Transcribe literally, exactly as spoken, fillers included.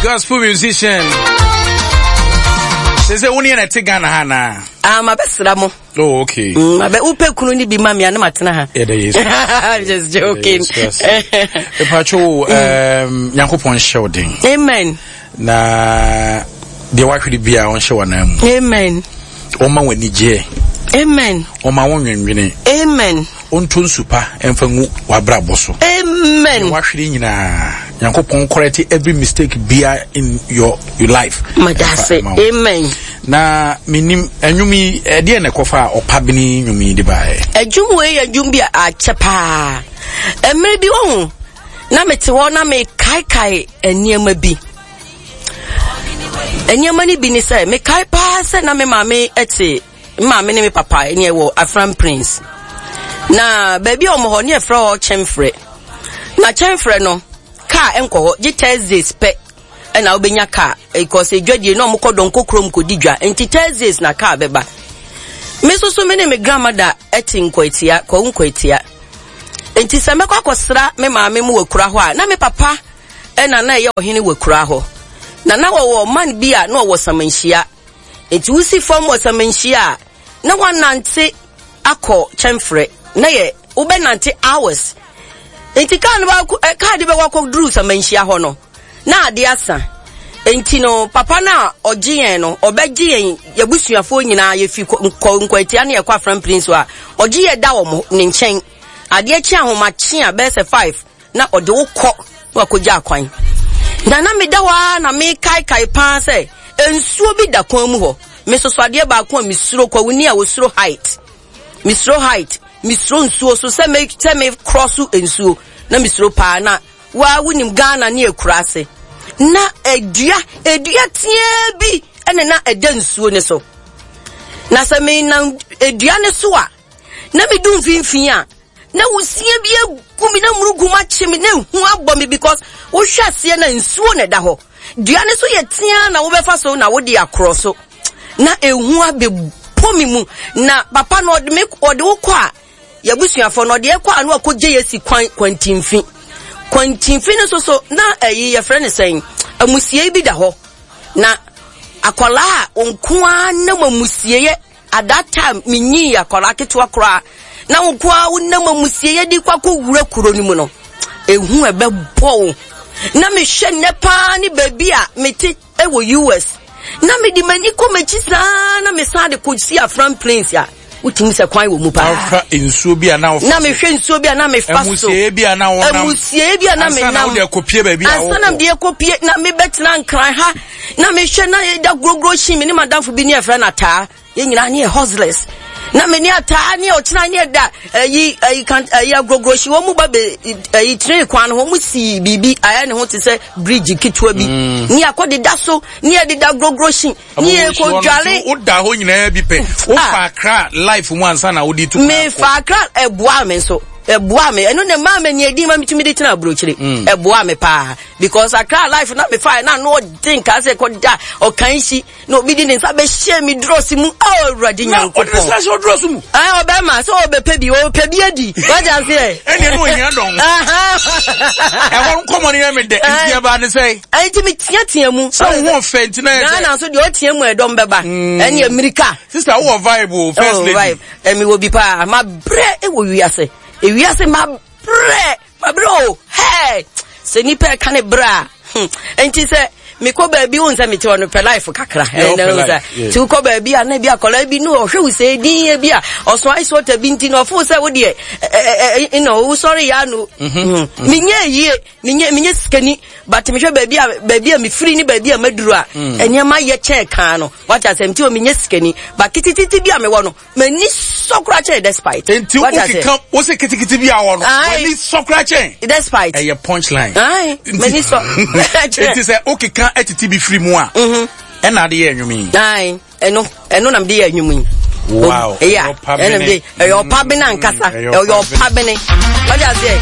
Gospel musician. Sɛ sɛ wo ne yɛ na ɛte Ghana ha naa? Ah, mabɛsra mo. Oh, okay. Mm, mabɛ wopɛ kunu ne bi ma me a na matena ha. Yɛda Yesu. I'm just joking. Epatwo, um, Nyankopɔn nhyɛ wo den. Amen. Na deɛ wahwere biara ɔnhyɛ w'anan mu. Amen. Ɔma w'ani gyeɛ. Amen. Ɔma wo nwenwene. Amen. Ɔnto nsu pa ɛmfa ngu w'abrabɔ so. Amen. Deɛ wahwere nyinaa Nyankopɔn correct every mistake bia in your your life. Madase. Amen. Na menim ɛnwom yi ɛdeɛ na ɛkɔfa a ɔpabene nnwom yi de baeɛ. Ɛdwom wei yɛ dwom bi a akyɛ paa. Mmerɛ bi wahu na mete hɔ na mekaekae nneɛma bi. Nneɛma no bi ne sɛ mekae paa sɛ na me maame te me maame ne me papa ne ɛwɔ Afram Prince. Na baabi a wɔn hɔ ne yɛfrɛ hɔ Kyɛmfrɛ. Na Kyɛmfrɛ no kaa nkɔ hɔ gye Thursdays pɛ ɛna wobɛnya kaa because edwadie na wɔkɔ dɔnkɔ kurom kɔdi dwa nti Thursdays na kaa bɛba. Me nso so me ne me grandmother te Nkwatia, Kwawu Nkwatia. Nti sɛ mɛkɔ akɔsra me maame mu wɔ kura hɔ a na me papa ɛna na ɛyɛ ɔhene wɔ kura hɔ. Na na wɔwɔ man bi a na ɔwɔ Samanhyia. Nti wosi fam wɔ Samanhyia a na wanante akɔ Kyɛmfrɛ. Na yɛ wobɛnante hours. Nti kaa no baako ɛ kaa de bɛkɔ akɔduru Samanhyia hɔ no na ade asa. Nti no papa no a ɔgye yɛn no ɔbɛgye yɛn yɛbusuafoɔ nyinaa yɛfi kɔ Nkwatia ne yɛkɔ Aframpiri so a ɔgye yɛ da wɔ ne nkyɛn. Adeɛ kye ahomakye a bɛyɛ sɛ five na ɔde wo kɔ na wakɔgya akwan. Na na meda hɔ ara na mekaekae paa sɛ nsuo bi da kwan mu hɔ. Mesoso adeɛ baako a mesuro kwawuni a wɔsuro height. Mesuro height, mesuro nsuo so sɛ me sɛ me cross nsuo na mesuro paa na waa wonim Ghana ne akura ase. Na edua edua teaa bi ɛna na ɛda nsuo ne so. Na sɛ menam edua ne so a na medu mfimfini a na wusie bi egu mi na murugu mu akye me na ehu abɔ me because wohwɛ aseɛ na nsuo na ɛda hɔ. Dua ne so yɛ tea na wobɛfa so na wode akorɔ so. Na ehu abɛbɔ me mu na papa no ɔde me ɔde wo kɔ a yɛbusuafoɔ no ɔde ɛkɔ a na wakɔgye yɛ si kwan kwantimfi. Kwantimfi no so so na ɛyi yɛfrɛ no sɛn amusiei bi da hɔ. Na akwadaa a nko ara nam amusieɛ at that time menyii akwadaa ketewa koraa na nko ara wonam amusieɛ de kɔ akɔwura kuro no mu no ehu ɛbɛbɔ wo. Na mehwɛ nnɛ paa ne baabi a mete ɛwɔ U S na mede m'ani kɔ m'akyi saa na mesan de kɔsi Afram Plains a wotumi sɛ kwan wɔ mu paa. Ɔfa nsuo bi a na wofa Na mehwɛ nsuo bi a na mefa so. Amusie bi a na wonam. Amusie bi a na Ansa na menam. wode akɔpie baabi a Ansa na wokɔ. mede akɔpie na mebɛtena Nkran ha na mehwɛ na yɛda guroguro hyin me ne madamfo bi ne yɛfrɛ no Ataa. Yɛn nyinaa ne yɛ hustlers. Na me ne Ataa ne ɔkyena ne yɛda ayi ayi kan ayi agorogoro hyi wɔn mu ba bɛ ayi train kwan no ho wɔn si biribi ayɛ ne ho te sɛ bridge ketewa bi. Mm. Ne akɔ deda so ne yɛ deda agorogoro hyi ne yɛ kɔ dwale. Wo da hɔ nyinaa bi pɛ. Wo fa Accra life mu ansa na wode tu kwan Me akɔ. fa Accra ɛboa me nso. Ɛboa me. Ɛno na maa me nea edin ma metumi de tena aburokyire. Mm. Ɛboa me paa because Accra life na me fa na no ɔden ka sɛ kɔ da ɔkan hyi. Na obi di ne nsa bɛhyɛ me drɔs mu. Oh, Awurade Na ɔde ne Nyankopɔn. nsa hyɛ ɔdrɔs mu. Ah, ɔbɛma sɛ ɔbɛpɛ bi, ɔpɛ bi adi. Wate aseɛ? Ɛnneɛ na ohia dɔn. Ɛhɔ nkɔmmɔ no yɛ me dɛ. Nti ɛbaa ne sɛ. Ɛnti me teatea mu. Sɛ wo ho fɛ nti na yɛ sɛ. Ghana nso deɛ ɔtea mu ɛdɔm bɛba. Ɛne Amerika. Sister, wowɔ vibe o, first Oh, lady. vibe. Ɛmi wɔ bi paa. Ma brɛ ɛwɔ wiase. Ewiase ma brɛ. Ma brɛ o. Hey! Sɛ nipa ɛka ne brɛ a. Hmm. Nti sɛ mekɔ baabi wo nsɛ mete hɔ no pɛ life kakra. Yeah, Ɛnɛ wopɛ wo sɛ, life, yeah. nti wokɔ baabi a na bi akɔla bi no ɔhwɛ wo sɛ din bi a ɔso ice water bi nti na ɔfo sɛ wo deɛ, ɛ, ɛ, ɛ, no, wo sɔre ya no. Mm-hmm. Hmm. Menyɛ yie, menyɛ, menyɛ sikani, but mehwɛ baabi a, baabi a mefiri ne baabi a maduru a, Mm. nneɛma yɛ kyɛn kan no. Wate asɛm, nti o menyɛ sikani, but kitititi bi a mewɔ no, m'ani sɔ koraa kyɛn despite. Nti Wate asɛm? wokeka, wo se kitikiti bi a wɔ no, Aye. w'ani sɔ koraa kyɛn. Despite. Ɛyɛ punchline. Aye, m'ani sɔ. Nti sɛ wokeka atiti bi firi mu a, Mm-hmm. ɛna ade yɛ nnwom yi. Aye, ɛno, ɛno na mede yɛ nnwom yi. Wow. Yeah, Ɛyɛ ɔpa ɛna bene. mede, ɛyɛ ɔpa bene ankasa. Mm, ɛyɛ Ɛyɛ ɔpa ɔpa bene. Wate aseɛ?